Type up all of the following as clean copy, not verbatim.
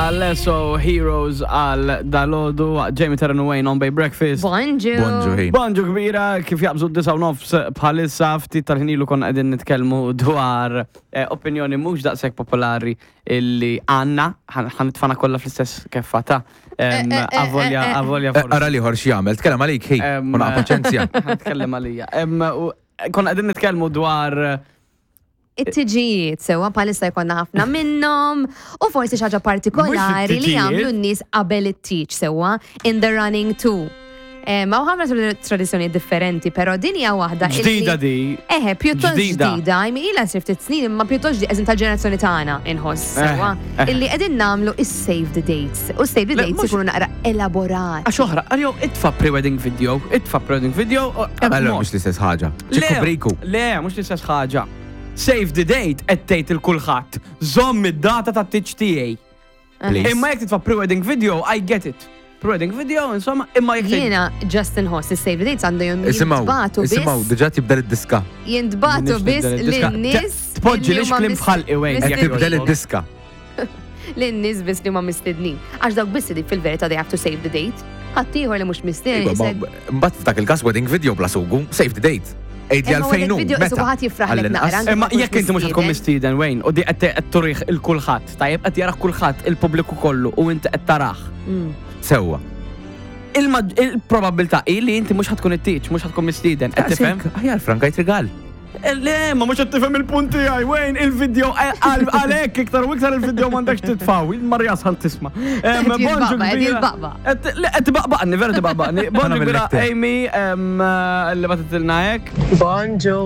Alesso Heroes għal dalodu Jamie Terran Wayne on Bay Breakfast. Bonġu. Bonġu ħin. Bonġu kbira kif jaqbżu d-disa u nofs bħalissa ftit tal-ħinilu konna qegħdin nitkellmu dwar eh, opinjoni mhux daqshekk popolari illi għandna ħanitfana kollha fl-istess keffa ta' Eh, eh, eh, avolja eh, eh. avolja Eh, Ara liħor x'jagħmel, tkellem għalik ħi, Em, u naqa' paċenzja. Tkellem għalija. Em, u Konna qegħdin nitkellmu dwar It-tiġijiet sewa bħalissa jkollna ħafna minnhom u forsi xi ħaġa partikolari li it-tiġijiet. jagħmlu n-nies qabel it-tiġ sewwa in the running to. Eh, Ma ħafna tradizzjoni differenti, però din hija waħda illi- ġdida di. Eħe, pjuttost Ġdida. ġdida, I mean, ilha sir ftit snin, imma pjuttost ġdida, eżin tal-ġenerazzjoni tagħna inħoss sewwa, Eh, eh. illi qegħdin nagħmlu is-save the dates. U save the Le, dates mhux- ikunu naqra elaborati. Għax oħra, għal itfa pre-wedding video, itfa pre-wedding video. u- Allora mhux l-istess ħaġa. Ċikku briku. Le, mhux l-istess ħaġa. Save the date qed tgħid il kulħadd. Żomm id-data ta' tiġ tiegħi. Please. Imma jekk titfa pre-wedding video, I get it. Pre-wedding video, insomma, imma jekk tgħid- Jiena just inħoss is-save the dates għandhom Isimgħu, jintbatu isimgħu, biss. diġà tibdel id-diska. Jintbatu Minix biss nibdel id-diska. lin-nies. Tpoġġi illi lix huma klim mis- f'ħalqi, Wayne, jekk mistednin. Tibdel id-diska. Lin-nies biss li huma mistednin. Għax dawk biss li fil-verità they have to save the date. Ħaddieħor li mhux mistieden. Iva, ma- Mbagħad f'dak il-każ wedding video bla sugu, save the date. Għid li Imma għalfejn wedding hu. video meta? isu ħadd jifraħlek Għall-inqas. naqra, anke Imma ma tkunx jekk inti mhux tkun mistieden Wayne, u di qed qed turih il kulħadd, tajjeb qed jarah kulħadd il-pubbliku kollu u inti qed tarah. Mm. Sewwa. Il-probabilità hi li inti mhux ħatkun it-tieġ, mhux ħatkun mistieden, qed tifhem? Aħjar Franka rigal. Eh, Le, ma mhux qed tifhem il-punt tiegħi, Wayne, il-video eh, għalhekk iktar u iktar il-video m'għandekx titfaw, il-Marja sħal tisma. Em, Qed bonġu jitbaqbaq, qed kbira. jitbaqbaq. Qed- Le, qed tbaqbaqni, vera tbaqbaqni. Bonġu Għana kbira mill-iktar. Amy, em, eh, li batitilna hekk. Bonġu,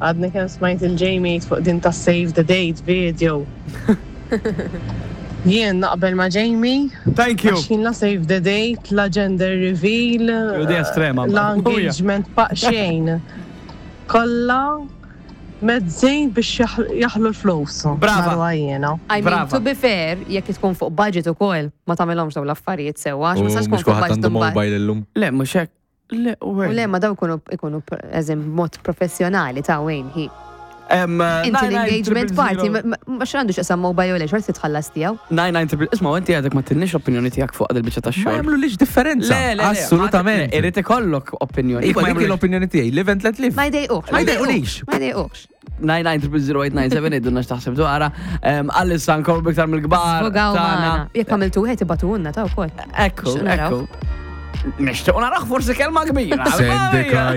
għadni kem smajt il-Jamie fuq din ta' Save the Date video. Jien naqbel ma' Jamie, Thank you. għax jien la Save the Date, la gender reveal, Ju, di estrema, la mbagħad. engagement pa' xejn. Kolla mezzi biex jaħ- jaħlu l-flus. Brava. Narwa jiena. I mean, Brava. to be fair, jekk tkun fuq budget ukoll, ma tagħmilhomx dawn l-affarijiet sewwa, għax U ma sax tkun mhux fuq kulħadd budget għandu imbagħad. mobile illum. Le, mhux hekk. Le, U le, ma daw ikunu ikunu eżem mod professjonali ta' Wayne hi. Inti l-engagement party, ma ma x'għandu x'qasam mobile jew le, xorta titħallas tiegħu. 99 Isma' inti għadek ma tinniex opinjoni tiegħek fuq il-biċċa Ma tax-xogħol. jagħmlu lix differenza. Le, le, le, Assolutament. le, Irid ikollok opinjoni. Iva, dik l-opinjoni tiegħi, live and let live. Ma jdejqux. Ma jdejqunix. Ma jdejqux. 99000897 idunna x'taħseb dwarha. Għalissa nkomplu biktar mill-kbar. Sfugaw tagħna. magħna. Jekk għamiltu wieħed ibatulna ta' wkoll. Ekku, Nixtiequ naraw. ekku. Nixtiequ naraħ forsi kelma kbira. Sendika.